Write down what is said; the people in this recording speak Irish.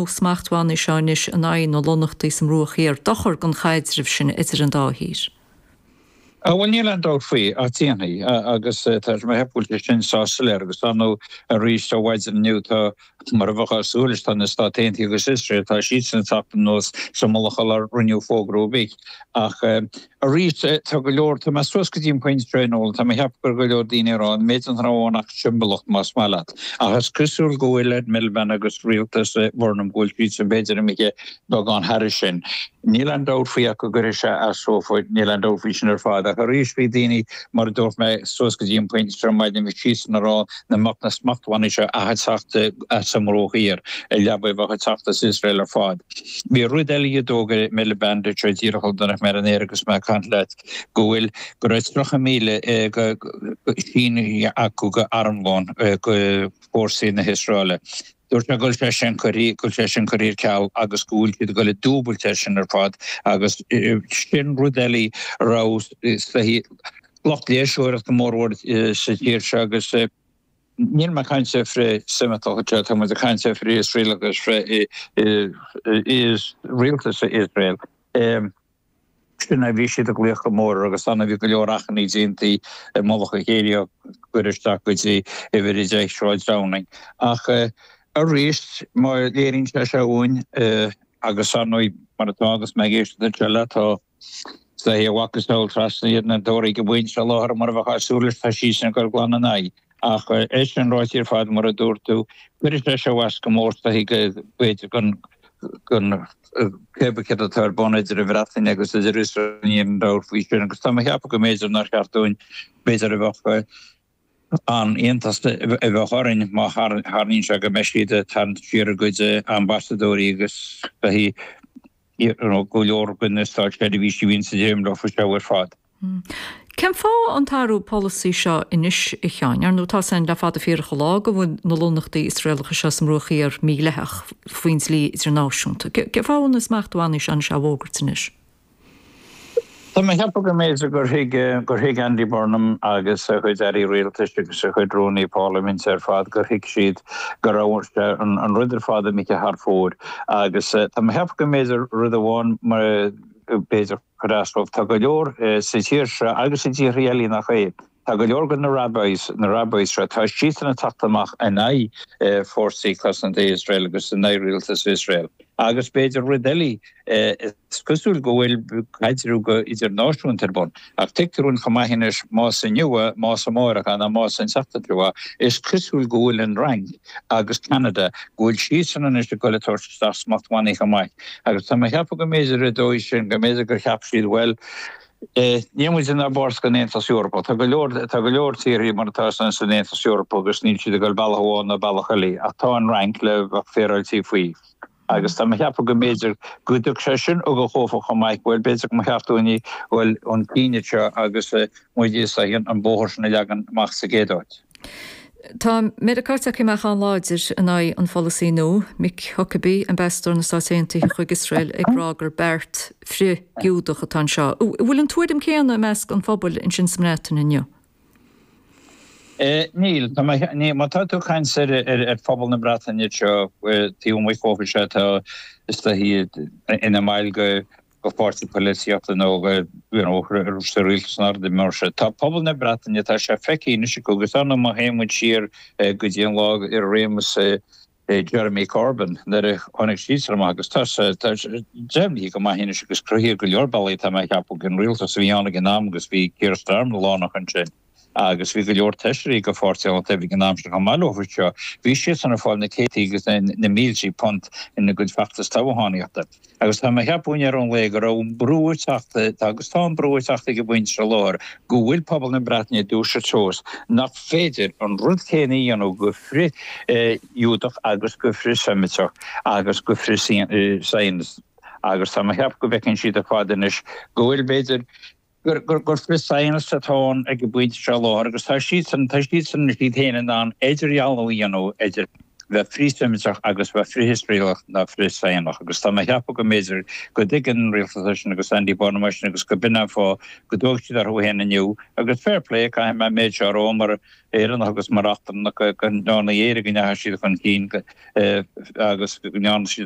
smachtbhannaí seo anois in aghaidh na lonnaíochtaí sa mBruach Thiar dochar don chaidreamh sin idir an dá thír? Bhuel, níl aon dabht faoi, ach déanfaidh, agus tá mé ag ceapadh go bhfuil sé sin sách soiléir, agus ar ndóigh arís ó mhaidin inniu tá, mar a bheifeá ag súil leis, tá na Stáit Aontaithe agus Iosrael, tá siadsan ag teacht anuas sa mullach sular rinneadh fógra ar bith. Ach arís, tá go leor, tá mé suas go dtí an pointe seo, Noel, tá mé ag ceapadh go raibh go leor daoine ag rá, an méid nach raibh ann ach siombailíocht, más maith leat. Ach is cosúil go bhfuil Ed Miliband agus rialtas Burnham, go bhfuil siadsan b'fhéidir imithe beagán thairis sin. Níl aon dabht faoi ach go gcuirfidh sé as dófa, níl aon dabht faoi sin ar fad. Ach arís, bhí daoine, mar a dúirt mé, suas go dtí an pointe seo ar maidin, bhí siadsan ag rá nach mbeadh na smachtbhannaí seo ach ag teacht as an mBruach Thiar, a leaba a bheadh ag teacht as Iosrael ar fad. Bhí rud eile a d'fhógair Miliband anseo díreach ó d'fhan mé ar an aer agus mé ag caint leat, go bhfuil, go raibh 30,000 sínithe acu go armlón go fórsaí na hIosraeile. Dúirt sé go bhfuil sé sin curtha, go bhfuil sé sin curtha ar ceal agus go bhfuil siad ag dul ag dúbailt air sin ar fad agus sin rud eile a raibh lucht léirseoireachta mórmhór sa tír seo agus níl mé ag caint ar frith-Seimiteach anseo, tá muid ag caint ar frith-Iosraelach agus frith-rialtas Iosrael. Sin é, bhí siad ag glaoch go mór air agus ann bhí go leor achainí déanta i mullach a chéile á gcur isteach go dtí uimhir 10 Sráid Downing. Ach arís, má léiríonn sé seo uainn, agus ar ndóigh, mar atá agus mé ag éisteacht anseo leat, tá a mhacasamhail trasna iad na Tóraithe ag an bpointe seo i láthair, mar a bheifeá ag súil leis, tá siadsan ag dul glan ina aghaidh. Ach é sin ráite ar fad, mar a dúirt tú, cuirfidh sé seo as go mór is dóichí b'fhéidir don cibé céard atá ar bun idir an Bhreatain agus idir Iosrael, níl aon dabht faoi sin. Agus tá mé ag ceapadh go mb'fhéidir nár cheart dúinn, b'fhéidir a bheadh an-iontas a bheadh orainn má tharlaíonn sé go mbeidh siad ag tarraingt siar a gcuid ambasadóirí agus beidh go leor de na státseirbhísigh a bhíonn sa dréim leo faoi seo ar fad. Cén fáth an t-athrú polasaí seo anois, a Sheáin? Ar ndóigh, tá a fhios againn le fada fíorach an lá go bhfuil na lonnaíochtaí Iosraelacha seo sa mBruach Thiar mídhleathach faoin dlí idirnáisiúnta. Cén fáth a bhfuil na smachtbhannaí seo anois á bhfógairt anois? Tá mé ag ceapadh go mb'fhéidir gur thuig, gur thuig Andy Burnham agus a chuid airí rialtais agus a chuid rúnaí parlaiminte ar fad, gur thuig siad go raibh an rud ar fad imithe thar fóir. Agus tá mé ag ceapadh go mb'fhéidir rud amháin, b'fhéidir, Chuir as dóibh. Tá go leor sa tír seo agus i dtíortha eile nach é. Tá go leor de na rabbis, na rabbis seo, tá siadsan ag teacht amach in aghaidh fórsaí cosanta Iosrael agus in aghaidh rialtas Iosrael. Agus b'fhéidir rud eile, is cosúil go bhfuil caidreamh go idirnáisiúnta ar bun. Ach tuigtear dúinn chomh maith anois, más inniu é, más amárach é, nó más an tseachtain seo é, is cosúil go bhfuil an Fhrainc agus Ceanada, go bhfuil siadsan anois ag dul ag tabhairt isteach smachtbhannaí chomh maith. Agus tá mé ag ceapadh go mb'fhéidir ar an dóigh sin, go mb'fhéidir gur cheap siad, bhuel, níl muid inár bpáirt den Aontas Eorpach. Tá go leor, tá go leor tíorthaí mar atá san san Aontas Eorpach agus níl siad ag dul bealach amháin nó bealach eile. Ach tá an Fhrainc le bheadh féaráilte faoi. Agus tá mé ag ceapadh go mb'fhéidir go dtug sé sin ugach dhófa chomh maith, bhuel, b'fhéidir go mba cheart dúinn a dhul chun cinn anseo agus muid is an bóthar sin a leagan amach sa gcéad áit. Tá Meiriceá tagtha amach an-láidir in aghaidh an pholasaí nua, Mike Huckabee, ambasadóir na Stát Aontaithe chuig Iosrael, ag rá gur beart frith-Ghiúdach atá anseo. An bhfuil an tuairim céanna i measc an phobail ansin sa mBreatain inniu? Níl. Tá mé, ní, má tá tú ag caint ar, ar phobal na Breataine anseo, taobh amuigh dhófa seo atá is dóichí ina mbaill de go pháirtí polaitíochta nó go you know sa rialtas nó rudaí mar sin. Tá pobal na Breataine, tá sé feicthe anois acu agus ar ndóigh má théann muid siar go dtí an lá i réimeas Jeremy Corbyn nuair a tháinig siadsan amach agus tá sé tá sé deimhnithe go maith anois agus cruthaithe go leor bealaí tá mé ag ceapadh an rialtas a bhí ann ag an am agus bhí Keir Starmer lárnach ansin. Agus bhí go leor feisirí de Pháirtí an Lucht Oibre ag an am sin chomh maith leo seo. Bhí siadsan ag fáil na céadtaí agus na míltí punt ina gcuid feachtas toghchánaíochta. Agus tá mé ag ceapadh i ndeireadh an lae go raibh an brú ag teacht, agus tá an brú ag teacht ag an bpointe seo i láthair, go bhfuil pobal na Breataine ag dúiseacht suas nach féidir an rud céanna a dhéanamh go frith-Ghiúdach agus go frith-Seimiteach agus go frith-Zionist. Agus tá mé ag ceapadh go bhfeiceann siad ar fad anois go bhfuil, b'fhéidir, gur frith-Zionist atá ann ag an bpointe seo i láthair agus tá siadsan, tá siadsan iad féin in ann idirdhealú a dhéanamh idir. Bheith frith-Sheimiteach agus bheith frith-Iosraelach ná frith-Zionach. Agus tá mé a cheapadh go mb'fhéidir go dtuigeann an rialtas é sin agus Andy Burnham é sin agus go b'in an fáth go dtóg siad orthu féin inniu. Agus fair play, caithfidh mé an méid seo a rá mar Éireannach agus mar eachtrannach go ndearna Éire go ndeachaigh siad chun cinn agus go ndearna siad.